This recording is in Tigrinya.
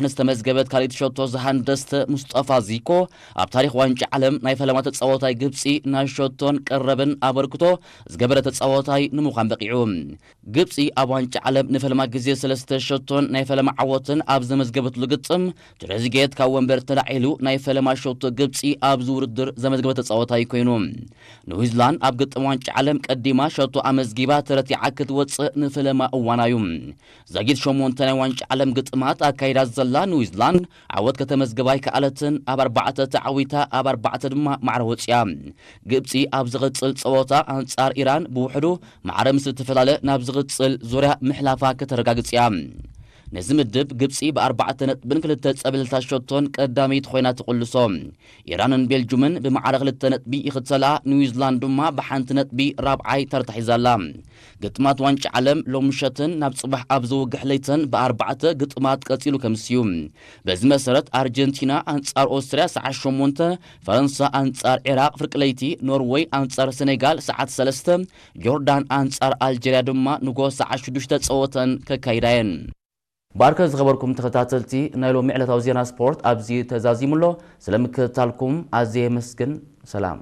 ንዝተመዝገበት ካልኣይቲ ሸቶ ዝሃንደሰት ሙስጠፋ ዚኮ ኣብ ታሪኽ ዋንጫ ዓለም ናይ ፈለማ ተጻዋታይ ግብጺ ናይ ሸቶን ቀረብን ኣበርክቶ ዝገበረ ተጻዋታይ ንምዃን በቒዑ። ግብጺ ኣብ ዋንጫ ዓለም ንፈለማ ግዜ ሰለስተ ሸቶን ናይ ፈለማ ዓወትን ኣብ ዘመዝገበትሉ ግጥም፣ ትሬዚጌት ካብ ወንበር ተላዒሉ ናይ ፈለማ ሸቶ ግብጺ ኣብዚ ውድድር ዘመዝገበ ተጻዋታይ ኮይኑ። ኒውዚላንድ ኣብ ግጥም ዋንጫ ዓለም ቀዲማ ሸቶ ኣመዝጊባ ተረቲዓ ክትወጽእ ንፈለማ እዋና እዩ። ዛጊት ሸሞንተ ናይ ዋንጫ ዓለም ግጥማት ኣካይዳ ዘላ ኒውዚላንድ ዓወት ከተመዝግብ ኣይከኣለትን። ኣብ ኣርባዕተ ተዓዊታ ኣብ ኣርባዕተ ድማ ማዕረ ወጺኣ። ግብጺ ኣብ ዝቕጽል ጸወታ ኣንጻር ኢራን ብውሕዱ ማዕረ ምስ እትፈላለ ናብ ዝቕጽል ዙርያ ምሕላፋ ከተረጋግጽ እያ። ነዚ ምድብ ግብጺ ብኣርባዕተ ነጥብን ክልተ ጸብለልታ ሸቶን ቀዳመይቲ ኮይና ትቕልሶ። ኢራንን ቤልጁምን ብማዕረ ክልተ ነጥቢ ይኽተላ፣ ኒውዚላንድ ድማ ብሓንቲ ነጥቢ ራብዓይ ተርታ ሒዛ ኣላ። ግጥማት ዋንጫ ዓለም ሎም ምሸትን ናብ ጽባሕ ኣብ ዝውግሕ ለይትን ብኣርባዕተ ግጥማት ቀጺሉ ከምስዩ። በዚ መሰረት ኣርጀንቲና ኣንጻር ኦስትርያ ሰዓት ሸሞንተ፣ ፈረንሳ ኣንጻር ዒራቕ ፍርቂ ለይቲ፣ ኖርወይ ኣንጻር ሰኔጋል ሰዓት ሰለስተ፣ ጆርዳን ኣንጻር ኣልጀርያ ድማ ንጎ ሰዓት ሽዱሽተ ጸወተን ከካይዳ እየን። ብኣርከ ዝኸበርኩም ተኸታተልቲ ናይ ሎሚ ዕለታዊ ዜና ስፖርት ኣብዚ ተዛዚሙ ኣሎ። ስለምክትታልኩም ኣዝየ የመስግን። ሰላም።